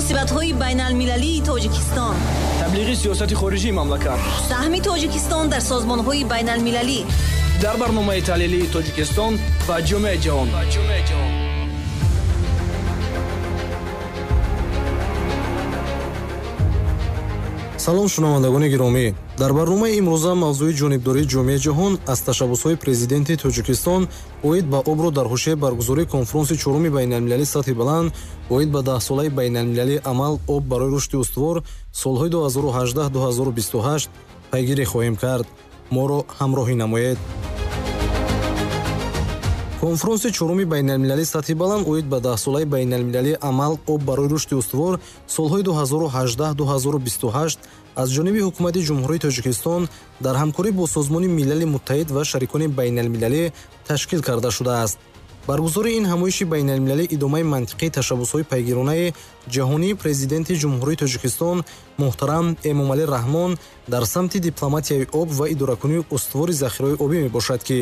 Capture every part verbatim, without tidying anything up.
Муносибатҳои байналмилалии Тоҷикистон, таблиғи сиёсати хориҷии мамлакат, саҳми Тоҷикистон дар созмонҳои байналмилалӣ. Дар барномаи таҳлилии Тоҷикистон ва ҷомеаи ҷаҳон. Салом, шунавандагони гиромӣ. Дар барномаи имрӯза мавзӯи ҷонибдории ҷомеаи ҷаҳон аз ташаббусҳои президенти Тоҷикистон оид ба обро дар ҳошияи баргузории конфронси чоруми байналмилалии сатҳи баланд оид ба даҳсолаи байналмилалии амал об барои рушди устувор солҳои ду ҳазору ҳаждаҳ ду ҳазору бисту ҳашт пайгирӣ хоҳем кард. Моро ҳамроҳӣ намоед. Конфронси чоруми байналмилалии сатҳи баланд оид ба даҳсолаи байналмилалии амал об барои рушди устувор солҳои ду ҳазору ҳаждаҳ ду ҳазору бисту ҳашт аз ҷониби ҳукумати Ҷумҳурии Тоҷикистон дар ҳамкорӣ бо Созмони Милали Муттаҳид ва шарикони байналмилалӣ ташкил карда шудааст. Баргузории ин ҳамоиши байналмилалӣ идомаи мантиқии ташаббусҳои пайгиронаи ҷаҳонии президенти Ҷумҳурии Тоҷикистон муҳтарам Эмомалӣ Раҳмон дар самти дипломатияи об ва идоракунии устувори захираҳои обӣ мебошад, ки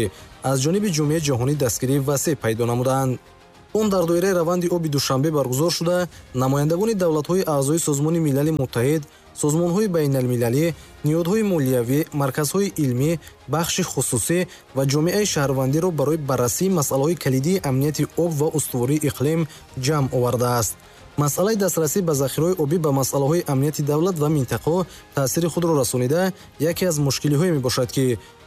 аз ҷониби ҷомеаи ҷаҳонӣ дастгирии васеъ пайдо намуданд. Он дар доираи раванди оби Душанбе баргузор шуда, намояндагони давлатҳои аъзои Созмони Милали Муттаҳид, созмонҳои байналмилалӣ, ниҳодҳои молиявӣ, марказҳои илмӣ, бахши хусусӣ ва ҷомеаи шаҳрвандиро барои баррасии масъалаҳои калидии амнияти об ва устувории иқлим ҷамъ овардааст. Масъалаи дастрасӣ ба захираҳои обӣ ба масъалаҳои амнияти давлат ва минтақаҳо таъсири худро расонида, яке аз мушкилиҳое мебошад, ки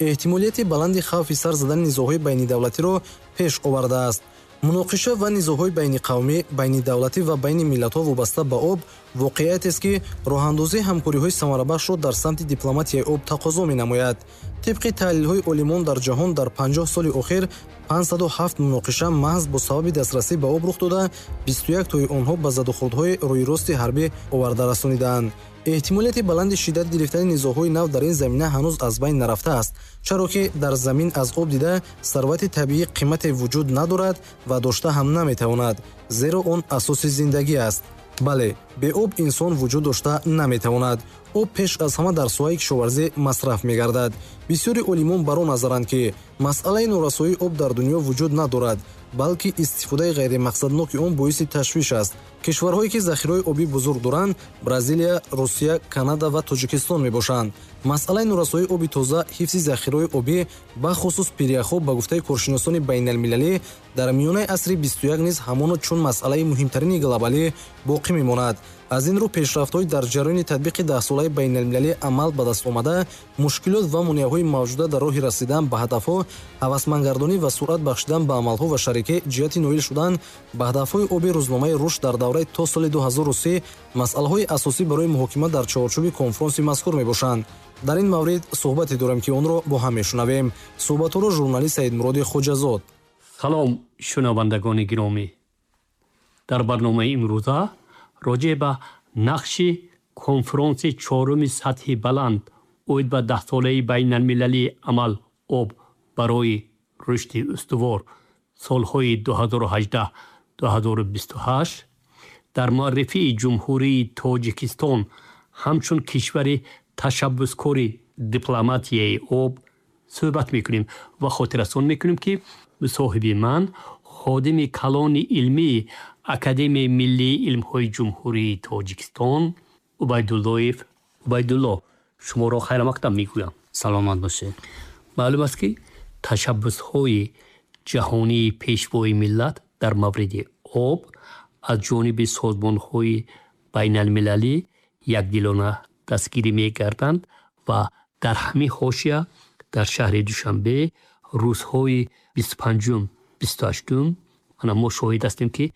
эҳтимолияти баланди хавфи сар задани низоъҳои байнидавлатиро пеш овардааст. Муноқиша ва низоъҳои байниқавмӣ, байнидавлатӣ ва байни миллатҳо вобаста ба об воқеиятест, ки роҳандозии ҳамкориҳои самарабахшро дар самти дипломатияи об тақозо менамояд. Тибқи таҳлилҳои олимон дар ҷаҳон дар панҷоҳ соли охир панҷсаду ҳафт муноқиша маҳз бо сабаби дастрасӣ ба об рух дода, бисту як тои онҳо ба задухӯрдҳои рӯйрости ҳарбӣ оварда расонидаанд. Эҳтимолияти баланди шиддат гирифтани низоъҳои нав дар ин замина ҳанӯз аз байн нарафтааст, чаро ки дар замин аз об дида сарвати табиӣ қимате вуҷуд надорад ва дошта ҳам наметавонад, зеро он асоси зиндагӣ аст. Бале, бе об инсон вуҷуд дошта наметавонад. Об пеш аз ҳама дар соҳаи кишоварзӣ масраф мегардад. Бисёри олимон бар он назаранд, ки масъалаи норасоии об дар дунё вуҷуд надорад, балки истифодаи ғайримақсадноки он боиси ташвиш аст. Кишварҳое ки захираҳои обӣ бузург доранд, Бразилия, Русия, Канада ва Тоҷикистон мебошанд. Масъалаи норасоии оби тоза, ҳифзи захираҳои обӣ, бахусус пиряхҳо, ба гуфтаи коршиносони байналмилалӣ дар миёнаи асри бисту як низ ҳамоно чун масъалаи муҳимтарини глобалӣ боқӣ мемонад. Аз ин рӯ пешрафтҳои дар ҷараёни татбиқи даҳсолаи байналмилалии амал ба даст омада, мушкилот ва монеаҳои мавҷуда дар роҳи расидан ба ҳадафҳо, ҳавасмандгардонӣ ва суръат бахшидан ба амалҳо ва шарикӣ ҷиҳати ноил шудан ба ҳадафҳои оби рӯзномаи рушд дар давраи то соли ду ҳазору се масъалаҳои асосӣ барои муҳокима дар чаҳорчӯби конфронси мазкур мебошанд. Дар ин маврид суҳбате дорем, ки онро бо ҳам мешунавем. Суҳбатҳоро журналист Саидмуроди Хоҷазод. Салом, шунавандагони гиромӣ. Дар барномаи имрӯза роҷеъ ба нақши конфронси чоруми сатҳи баланд оид ба даҳсолаи байналмилалии амал об барои рушди устувор солҳои ду ҳазору ҳаждаҳ ду ҳазору бисту ҳашт дар муаррифии Ҷумҳурии Тоҷикистон ҳамчун кишвари ташаббускори дипломатияи об суҳбат мекунем ва хотиррасон мекунем, ки мусоҳиби ман ходими калони илмии Академияи миллии илмҳои Ҷумҳурии Тоҷикистон Убайдуллоев Убайдулло. Шуморо хайрамақдам мегӯям. Саломат бошед. Маълум аст, ки ташаббусҳои ҷаҳонии пешвои миллат дар мавриди об аз ҷониби созмонҳои байналмилалӣ якдилона дастгирӣ мегарданд ва дар ҳамин ҳошия дар шаҳри Душанбе рӯзҳои бисту панҷум бисту ҳаштум ана мо шоҳид ҳастем, ки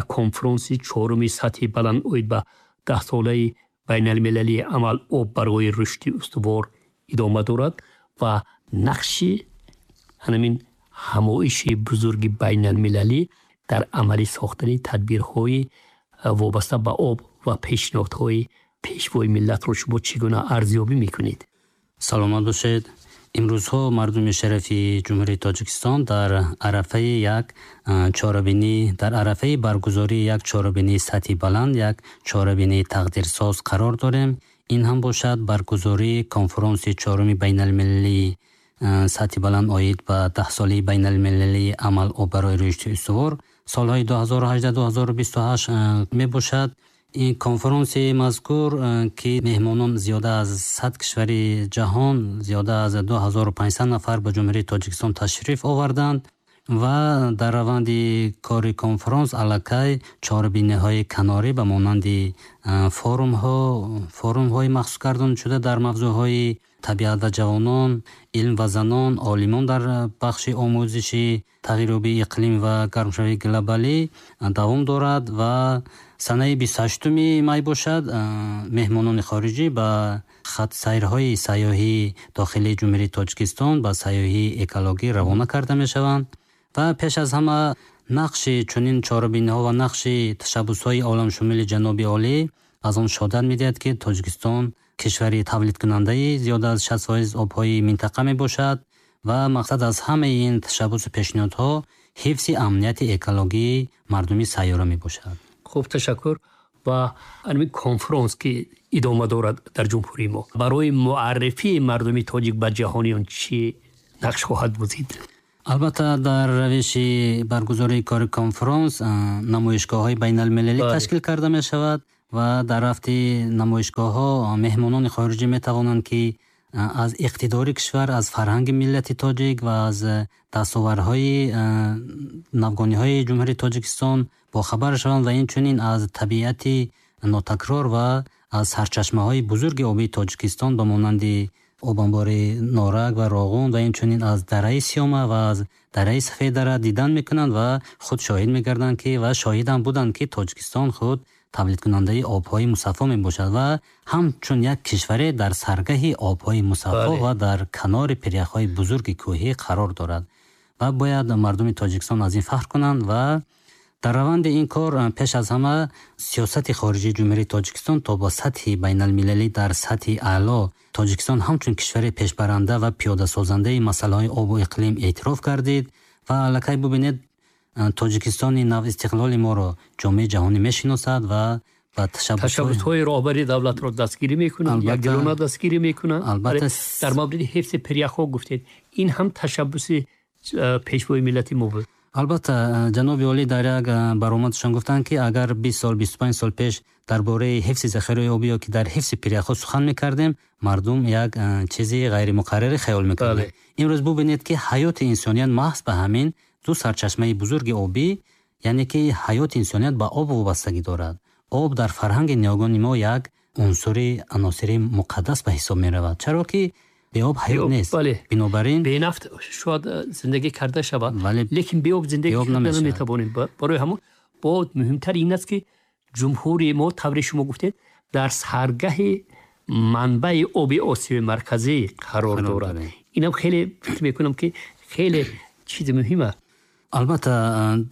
як конфронси чоруми сатҳи баланд оид ба даҳсолаи байналмилалии амал об барои рушди устувор идома дорад ва нақши ҳамин ҳамоиши бузурги байналмилалӣ дар амалӣ сохтани тадбирҳои вобаста ба об ва пешниҳодҳои пешвои миллатро шумо чӣ гуна арзёбӣ мекунед? Саломат бошед. Имрӯзҳо мардуми шарафи Ҷумҳурии Тоҷикистон дар арафаи як чорабинӣ, дар арафаи баргузории як чорабинии сатҳи баланд, як чорабинии тақдирсоз қарор дорем. Ин ҳам бошад баргузории конфронси чоруми байналмилалии сатҳи баланд оид ба даҳсолаи байналмилалии амал об барои рушди устувор солҳои ду ҳазору ҳаждаҳ ду ҳазору бисту ҳашт мебошад. Ин конфронси мазкур, ки меҳмонон зиёда аз сад кишвари ҷаҳон, зиёда аз ду ҳазору панҷсад нафар ба Ҷумҳурии Тоҷикистон ташриф оварданд ва дар раванди кори конфронс аллакай чорабиниҳои канорӣ ба монанди форумҳо, форумҳои махсус гардонидашуда дар мавзӯъҳои табиат ва ҷавонон, илм ва занон, олимон дар бахши омӯзиши тағйирёбии иқлим ва гармшавии глобалӣ давом дорад ва санаи бисту ҳаштуми май бошад, меҳмонони хориҷӣ ба хатсайрҳои сайёҳии дохилии Ҷумҳурии Тоҷикистон ба сайёҳии экологӣ равона карда мешаванд ва пеш аз ҳама нақши чунин чорабиниҳо ва нақши ташаббусҳои оламшумули ҷаноби олӣ аз он шаҳодат медиҳад, ки Тоҷикистон кишвари тавлидкунандаи зиёда аз шаст фоиз обҳои минтақа мебошад ва мақсад аз ҳамаи ин ташаббусу пешниҳодҳо ҳифзи амнияти экологии мардуми сайёра мебошад. Хуб, ташаккур. Ва ҳамин конфронс, ки идома дорад дар ҷумҳурии мо, барои муаррифии мардуми тоҷик ба ҷаҳониён чӣ нақш хоҳад бозид? Албатта, дар равиши баргузории кори конфронс намоишгоҳҳои байналмилалӣ ташкил карда мешавад ва дар рафти намоишгоҳҳо меҳмонони хориҷӣ метавонанд, ки аз иқтидори кишвар, аз фарҳанги миллати тоҷик ва аз дастовардҳои навгониҳои Ҷумҳурии Тоҷикистон бохабар шаванд ва инчунин аз табиати нотакрор ва аз сарчашмаҳои бузурги обии Тоҷикистон ба монанди обанбори Норак ва Роғун ва инчунин аз дараи Сиёма ва аз дараи Сафеддара дидан мекунанд ва худ шоҳид мегарданд, ки ва шоҳидам буданд, ки Тоҷикистон худ тавлидкунандаи обҳои мусаффо мебошад ва ҳамчун як кишваре дар саргаҳи обҳои мусаффо ва дар канори пиряхҳои бузурги кӯҳӣ қарор дорад ва бояд мардуми Тоҷикистон аз ин фахр кунанд. Ва дар раванди ин кор пеш аз ҳама сиёсати хориҷии Ҷумҳурии Тоҷикистон то ба сатҳи байналмилалӣ дар сатҳи аъло Тоҷикистон ҳамчун кишвари пешбаранда ва пиёдасозандаи масъалаҳои обу иқлим эътироф гардид ва аллакай бубинед, Тоҷикистони навистиқлоли моро ҷомеаи ҷаҳонӣ мешиносад ва ба ташаббусҳои роҳбари давлатро дастгирӣ мекунанд, якдилона дастгирӣ мекунанд. Албатта, дар мавриди ҳифзи пиряхҳо гуфтед, ин ҳам ташаббуси пешвои миллати мо буд. Албатта, ҷаноби олӣ дар як баромадшон гуфтанд, ки агар бист сол, бисту панҷ сол пеш дар бораи ҳифзи захираҳои обӣ ё ки дар ҳифзи пиряхҳо сухан мекардем, мардум як чизи ғайримуқаррарӣ хаёл мекарданд. Имрӯз бубинед, ки ҳаёти инсоният маҳз ба ҳамин ду сарчашмаи бузурги обӣ, яъне ки ҳаёти инсоният ба об вобастагӣ дорад. Об дар фарҳанги ниёгони мо як унсури аносири муқаддас ба ҳисоб меравад, чаро ки беоб ҳаёт нест. Бинобар ин бенафт шояд зиндагӣ карда шавад, лекин беоб зиндагӣ карда наметавонем. Барои ҳамон бо муҳимтар ин аст, ки ҷумҳурии мо, тавре шумо гуфтед, дар саргаҳи манбаи оби Осиёи Марказӣ қарор дорад. Инам хеле фикр мекунам, ки хеле чизи муҳим аст. Албатта,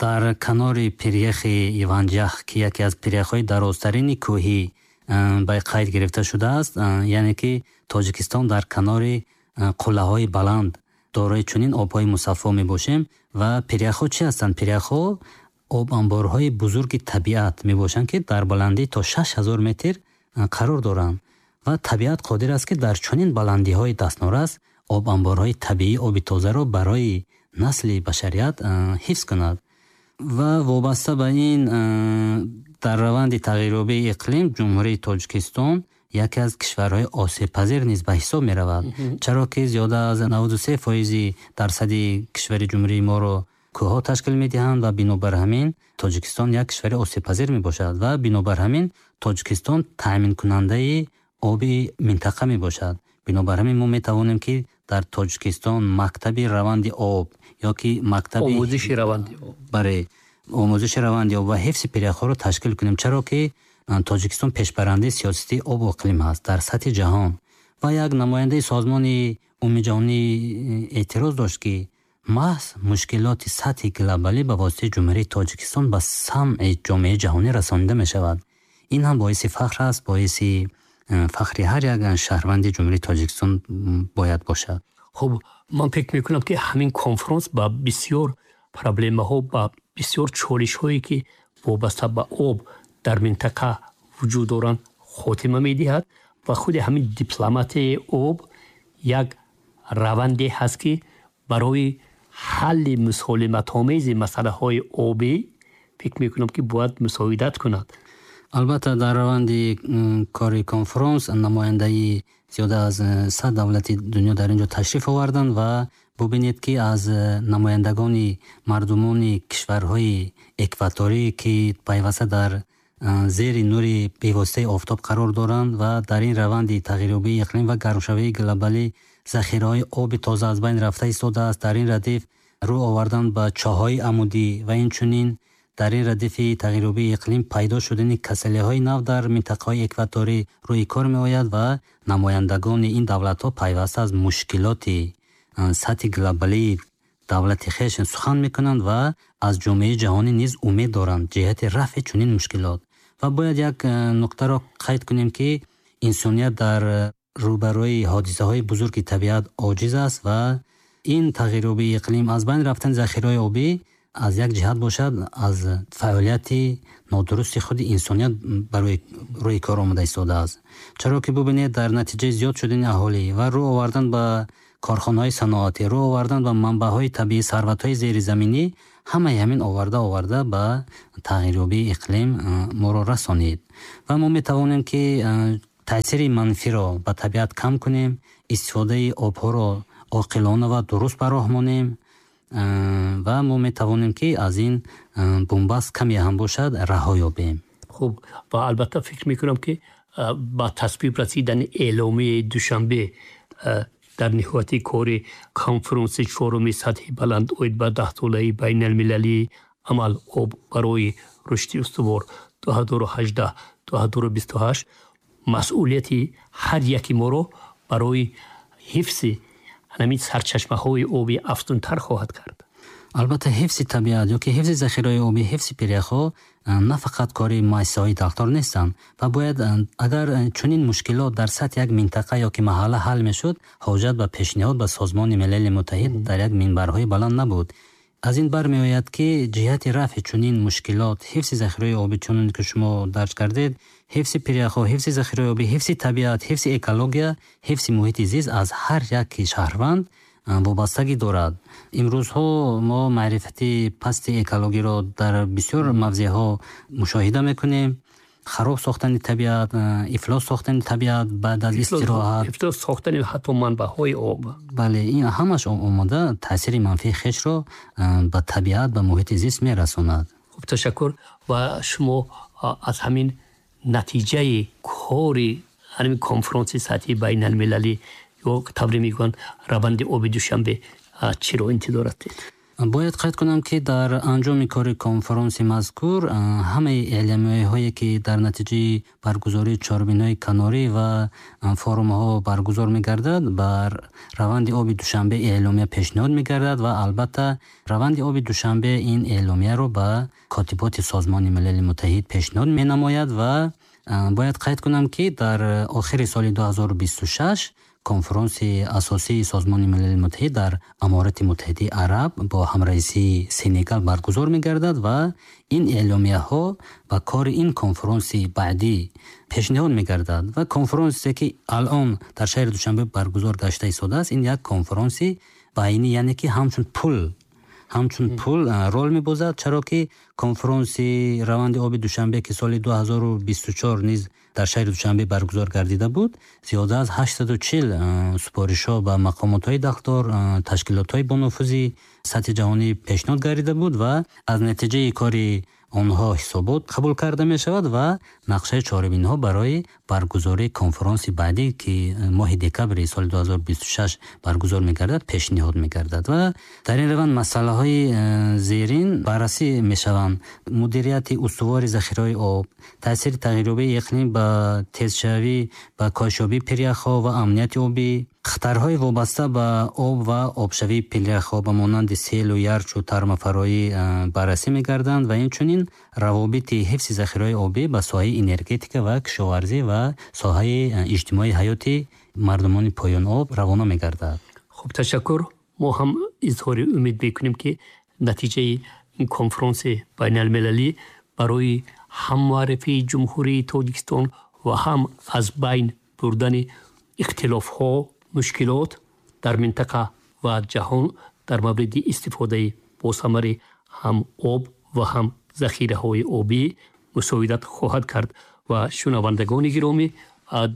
дар канори пиряхи Иванҷах, ки яке аз пиряхҳои дарозтарини кӯҳӣ ба қайд гирифта шудааст, яъне ки Тоҷикистон дар канори қуллаҳои баланд дорои чунин обҳои мусаффо мебошем. Ва пиряхҳо чӣ ҳастанд? Пиряхҳо обанборҳои бузурги табиат мебошанд, ки дар баландӣ то шаш ҳазор метр қарор доранд ва табиат қодир аст, ки дар чунин баландиҳои дастнорас обанборҳои табиии оби тозаро барои насли башарият ҳифз кунад. Ва вобаста ба ин дар раванди тағйирёбии иқлим Ҷумҳурии Тоҷикистон яке аз кишварҳои осебпазир низ ба ҳисоб меравад, чаро ки зиёда аз наваду се фоизи дарсади кишвари ҷумҳурии моро кӯҳҳо ташкил медиҳанд ва бинобар ҳамин Тоҷикистон як кишвари осебпазир мебошад ва бинобар ҳамин Тоҷикистон таъминкунандаи оби минтақа мебошад. Бинобар ҳамин мо метавонем, ки дар Тоҷикистон мактаби раванди об ё ки мактаби омӯзиши раванди об, бале, омӯзиши раванди об ва ҳифзи пиряхҳоро ташкил кунем, чаро ки Тоҷикистон пешбарандаи сиёсати обу иқлим ҳаст дар сатҳи ҷаҳон. Ва як намояндаи созмони умумиҷаҳонӣ эътироз дошт, ки маҳз мушкилоти сатҳи глобалӣ ба воситаи Ҷумҳурии Тоҷикистон ба самъи ҷомеаи ҷаҳонӣ расонида мешавад. Ин ҳам боиси фахр аст, боиси фахри ҳар як шаҳрванди Ҷумҳурии Тоҷикистон бояд бошад. Хуб, ман фикр мекунам, ки ҳамин конфронс ба бисёр проблемаҳо, ба бисёр чолишҳое, ки вобаста ба об дар минтақа вуҷуд доранд, хотима медиҳад ва худи ҳамин дипломатияи об як раванде ҳаст, ки барои ҳалли мусолиматомези масъалаҳои обӣ фикр мекунам, ки бояд мусоидат кунад. Албатта, дар раванди кори конфронс намояндаи зиёда аз сад давлати дунё дар ин ҷо ташриф оварданд ва бубинед, ки аз намояндагони мардумони кишварҳои экваторӣ, ки пайваста дар зери нури бевоситаи офтоб қарор доранд ва дар ин раванди тағйирёбии иқлим ва гармшавии глобалӣ захираҳои оби тоза аз байн рафта истодааст, дар ин радиф рӯ овардан ба чоҳҳои амудӣ ва инчунин дар ин радифи тағйирёбии иқлим пайдо шудани касалиҳои нав дар минтақаҳои экваторӣ рӯи кор меояд ва намояндагони ин давлатҳо пайваста аз мушкилоти сатҳи глобалии давлати хеш сухан мекунанд ва аз ҷомеаи ҷаҳонӣ низ умед доранд ҷиҳати рафъи чунин мушкилот. Ва бояд як нуқтаро қайд кунем, ки инсоният дар рӯбарӯи ҳодисаҳои бузурги табиат оҷиз аст ва ин тағйирёбии иқлим, аз байн рафтани захираҳои обӣ аз як ҷиҳат бошад, аз фаъолияти нодурусти худи инсоният барои рӯи кор омада истодааст. Чаро ки бубинед, дар натиҷаи зиёд шудани аҳолӣ ва рӯ овардан ба корхонаҳои саноатӣ, рӯ овардан ба манбаъҳои табиӣ, сарватҳои зеризаминӣ, ҳамаи ҳамин оварда оварда ба тағйирёбии иқлим моро расонид. Ва мо метавонем, ки таъсири манфиро ба табиат кам кунем, истифодаи обҳоро оқилона ва дуруст ба роҳ монем ва мо метавонем, ки аз ин бунбаст каме ҳам бошад раҳо ёбем. Хуб, ва албатта фикр мекунам, ки ба тасвиб расидани эъломияи Душанбе дар ниҳояти кори конфронси чоруми сатҳи баланд оид ба даҳсолаи байналмилалии амал об барои рушди устувор ду ҳазору ҳаждаҳ ду ҳазору бисту ҳашт масъулияти ҳар яки моро барои ҳифзи ҳамин сарчашмаҳои обӣ афзунтар хоҳад кард. Албатта, ҳифзи табиат ё ки ҳифзи захираҳои обӣ, ҳифзи пиряхҳо на фақат кори муассисаҳои дахлдор нестанд ва бояд, агар чунин мушкилот дар сатҳи як минтақа ё ки маҳалла ҳал мешуд, ҳоҷат ба пешниҳод ба Созмони Милали Муттаҳид дар як минбарҳои баланд набуд. Аз ин бармеояд, ки ҷиҳати рафъи чунин мушкилот, ҳифзи захираҳои обӣ, чунон ки шумо дарҷ кардед, ҳифзи пиряхҳо, ҳифзи захираҳои обӣ, ҳифзи табиат, ҳифзи экология, ҳифзи муҳити зист аз ҳар як шаҳрванд вобастагӣ дорад. Имрӯзҳо мо маърифати пасти экологиро дар бисёр мавзеъҳо мушоҳида мекунем. Хароб сохтани табиат, ифлос сохтани табиат баъд аз истироҳат, ифлос сохтани ҳатто манбаъҳои об. Бале, ин ҳамаш омода таъсири манфии хешро ба табиат, ба муҳити зист мерасонад. Хуб, ташаккур. Ва шумо аз ҳамин натиҷаи кори ҳамин конфронси сатҳи байналмилалӣ ё тавре мегӯянд раванди оби Душанбе чиро интизор ҳастед? Бояд қайд кунам, ки дар анҷоми кори конфронси мазкур ҳамаи эъломияҳое, ки дар натиҷаи баргузории чорабиниҳои канорӣ ва форумҳо баргузор мегардад, бар раванди оби Душанбе эъломия пешниҳод мегардад ва албатта раванди оби Душанбе ин эъломияро ба котиботи Созмони Милали Муттаҳид пешниҳод менамояд. Ва бояд қайд кунам, ки дар охири соли ду ҳазору бисту шаш конфронси асосии Созмони Милали Муттаҳид дар Аморати Муттаҳидаи Араб бо ҳамраисии Сенегал баргузор мегардад ва ин эъломияҳо ба кори ин конфронси баъдӣ пешниҳод мегардад. Ва конфронсе, ки алон дар шаҳри Душанбе баргузор гашта истодааст, ин як конфронси байнӣ, яъне ки ҳамчун пул ҳамчун пул рол мебозад, чаро ки конфронси раванди оби Душанбе, ки соли ду ҳазору бисту чор низ дар шаҳри Душанбе баргузор гардида буд, зиёда аз ҳаштсаду чил супоришҳо ба мақомотҳои дахлдор, ташкилотҳои бонуфузи сатҳи ҷаҳонӣ пешниҳод гардида буд ва аз натиҷаи кори онҳо ҳисобот қабул карда мешавад ва нақшаи чорабиниҳо барои баргузории конфронси баъдӣ, ки моҳи декабри соли ду ҳазору бисту шаш баргузор мегардад, пешниҳод мегардад. Ва дар ин раванд масъалаҳои зерин баррасӣ мешаванд: мудирияти устувори захираҳои об, таъсири тағйирёбии иқлим ба тезшавӣ, ба коҳишёбии пиряхҳо ва амнияти обӣ, хатарҳои вобаста ба об ва обшавии пиряхҳо ба монанди селу ярчу тармафароӣ баррасӣ мегарданд ва инчунин равобити ҳифзи захираҳои обӣ ба соҳаи энергетика ва кишоварзӣ ва соҳаи иҷтимоии ҳаёти мардумони поён об равона мегардад. Хуб, ташаккур. Мо ҳам изҳори умед мекунем, ки натиҷаи ин конфронси байналмилалӣ барои ҳам муаррифии Ҷумҳурии Тоҷикистон ва ҳам аз байн бурдани ихтилофҳо, мушкилот дар минтақа ва ҷаҳон дар мавриди истифодаи босамари ҳам об ва ҳам захираҳои обӣ мусоидат хоҳад кард. Ва шунавандагони гиромӣ,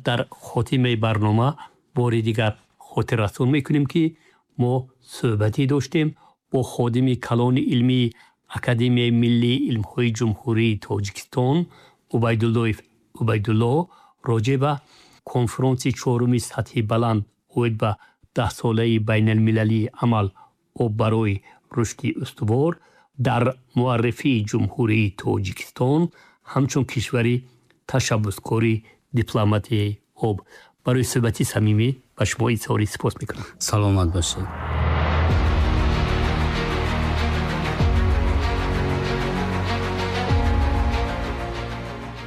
дар хотимаи барнома бори дигар хотиррасон мекунем, ки мо суҳбате доштем бо ходими калони илмии Академияи миллии илмҳои Ҷумҳурии Тоҷикистон Убайдуллоев Убайдулло роҷеъ ба конфронси чоруми сатҳи баланд оид ба даҳсолаи байналмилалии амал об барои рушди устувор дар муаррифии Ҷумҳурии Тоҷикистон ҳамчун кишвари ташаббускори дипломатияи об. Барои суҳбати самимӣ ба шумо изҳори сипос мекунам. Саломат бошед.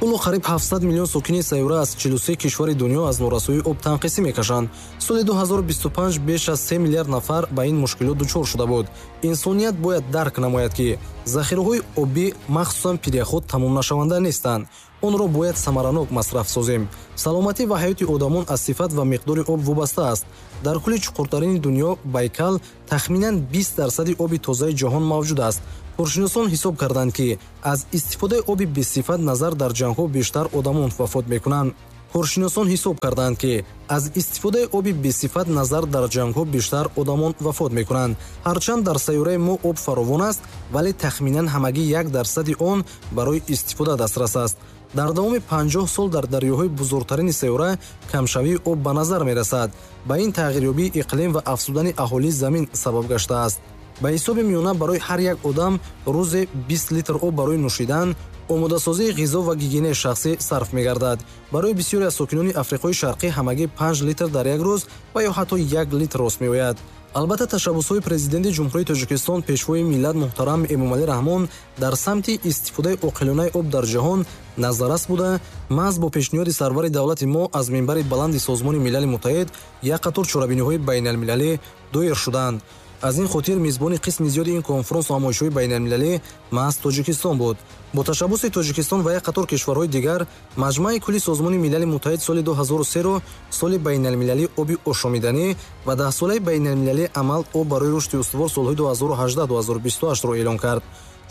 Ҳоло қариб ҳафтсад миллион сокини сайёра аз чилу се кишвари дунё аз норасоии об танқисӣ мекашанд. Соли ду ҳазору бисту панҷ беш аз се миллиард нафар ба ин мушкилот дучор шуда буд. Инсоният бояд дарк намояд, ки захираҳои обӣ, махсусан пиряхҳо, тамомнашаванда нестанд. Онро бояд самаранок масраф созем. Саломатӣ ва ҳаёти одамон аз сифат ва миқдори об вобаста аст. Дар кӯли чуқуртарини дунё, Байкал, тахминан бист дарсади оби тозаи ҷаҳон мавҷуд аст. Коршиносон ҳисоб карданд, ки аз истифодаи оби бесифат назар дар ҷангҳо бештар одамон вафот мекунанд. Коршиносон ҳисоб карданд, ки аз истифодаи оби бесифат назар дар ҷангҳо бештар одамон вафот мекунанд. Ҳарчанд дар сайёраи мо об фаровон аст, вале тахминан ҳамагӣ як дарсади он барои истифода дастрас аст. Дар давоми панҷоҳ сол дар дарёҳои бузургтарини сайёра камшавии об ба назар мерасад. Ба ин тағйирёбии иқлим ва афзудани аҳолии замин сабаб гаштааст. Ба ҳисоби миёна барои ҳар як одам рӯзе бист литр об барои нӯшидан, омодасозии ғизо ва гигиенаи шахсӣ сарф мегардад. Барои бисёре аз сокинони Африқои Шарқӣ ҳамагӣ панҷ литр дар як рӯз ва ё ҳатто як литр рост меояд. Албатта, ташаббусҳои президенти Ҷумҳурии Тоҷикистон, пешвои миллат муҳтарам Эмомалӣ Раҳмон дар самти истифодаи оқилонаи об дар ҷаҳон назаррас буда, маҳз бо пешниҳоди сарвари давлати мо аз минбари баланди Созмони Милали Муттаҳид як қатор чорабиниҳои байналмилалӣ доир шуданд. Аз ин хотир мизбони қисми зиёди ин конфронсу ҳамоишҳои байналмилалӣ маҳз Тоҷикистон буд. Бо ташаббуси Тоҷикистон ва як қатор кишварҳои дигар Маҷмааи кулли Созмони Милали Муттаҳид соли ду ҳазору серо соли байналмилалии оби ошомиданӣ ва даҳсолаи байналмилалии амал об барои рушди устувор солҳои ду ҳазору ҳаждаҳ ду ҳазору бисту ҳаштро эълон кард.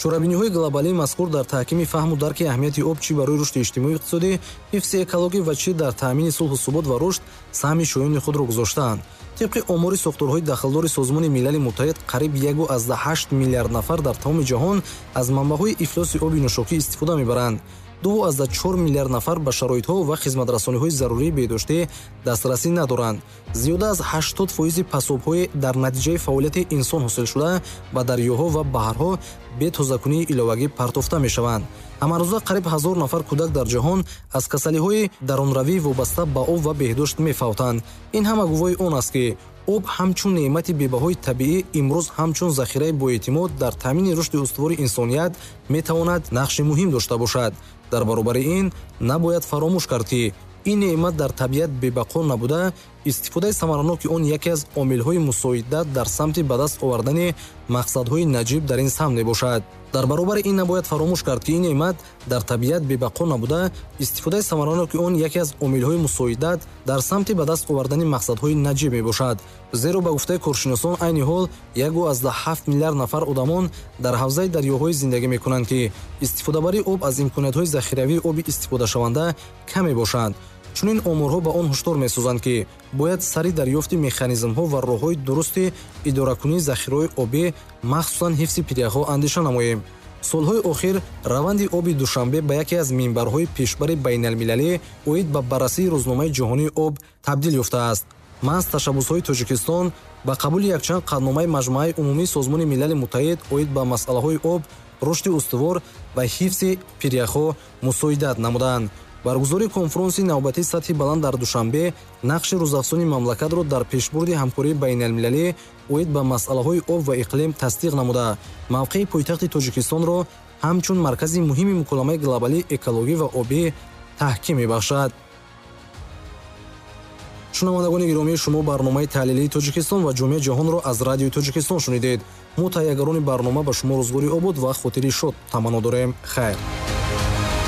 Чорабиниҳои глобалии мазкур дар таҳкими фаҳму дарки аҳамияти об чӣ барои рушди иҷтимоию иқтисодӣ, ҳифзи экологӣ ва чӣ дар таъмини сулҳу субот ва рушд саҳми шоёни худро гузоштаанд. Тибқи омори сохторҳои дахлдори Созмони Милали Муттаҳид, қариб яку аз ҳашт миллиард нафар дар тамоми ҷаҳон аз манбаъҳои ифлоси оби нӯшокӣ истифода мебаранд. ду аз чор миллиард нафар ба шароитҳо ва хизматрасониҳои зарурии беҳдоштӣ дастрасӣ надоранд. Зиёда аз ҳаштод фоизи пасобҳои дар натиҷаи фаъолияти инсон ҳосилшуда ба дарёҳо ва баҳрҳо бе тозакунии иловагӣ партофта мешаванд. Ҳамарӯза қариб ҳазор нафар кӯдак дар ҷаҳон аз касалиҳои дарунравӣ вобаста ба об ва беҳдошт мефавтанд. Ин ҳама гувоҳи он аст, ки об ҳамчун неъмати бебаҳои табиӣ имрӯз ҳамчун захираи боэътимод дар таъмини рушди устувори инсоният метавонад нақши муҳим дошта бошад. Дар баробари ин набояд фаромӯш кард, ки ин неъмат дар табиат бебақо набуда, истифодаи самараноки он яке аз омилҳои мусоидат дар самти ба даст овардани мақсадҳои наҷиб дар ин самт мебошад. Дар баробари ин набояд фаромӯш кард, ки ин неъмат дар табиат бебақо набуда, истифодаи самараноки он яке аз омилҳои мусоидат дар самти ба даст овардани мақсадҳои наҷиб мебошад. Зеро ба гуфтаи коршиносон, айни ҳол яку аз ҳафт миллиард нафар одамон дар ҳавзаи дарёҳое зиндагӣ мекунанд, ки истифодабарии об аз имкониятҳои захиравии оби истифодашаванда кам мебошанд. Чунин оморҳо ба он ҳушдор месозанд, ки бояд сари дарёфти механизмҳо ва роҳҳои дурусти идоракунии захираҳои обӣ, махсусан ҳифзи пиряхҳо андеша намоем. Солҳои охир раванди оби Душанбе ба яке аз минбарҳои пешбари байналмилалӣ оид ба баррасии рӯзномаи ҷаҳонии об табдил ёфтааст. Маҳз ташаббусҳои Тоҷикистон ба қабули якчанд қатъномаи Маҷмааи умумии Созмони Милали Муттаҳид оид ба масъалаҳои об, рушди устувор ва ҳифзи пиряхҳо мусоидат намуданд. Баргузории конфронси навбатии сатҳи баланд дар Душанбе нақши рӯзафзони мамлакатро дар пешбурди ҳамкории байналмилалӣ оид ба масъалаҳои об ва иқлим тасдиқ намуда, мавқеи пойтахти Тоҷикистонро ҳамчун маркази муҳими муколамаи глобалии экологӣ ва обӣ таҳким мебахшад. Шунавандагони гиромӣ, шумо барномаи таҳлилии Тоҷикистон ва ҷомеаи ҷаҳонро аз радиои Тоҷикистон шунидед. Мо таҳиягарони барнома ба шумо рӯзгори обод ва хотири шод таманно дорем. Хайр.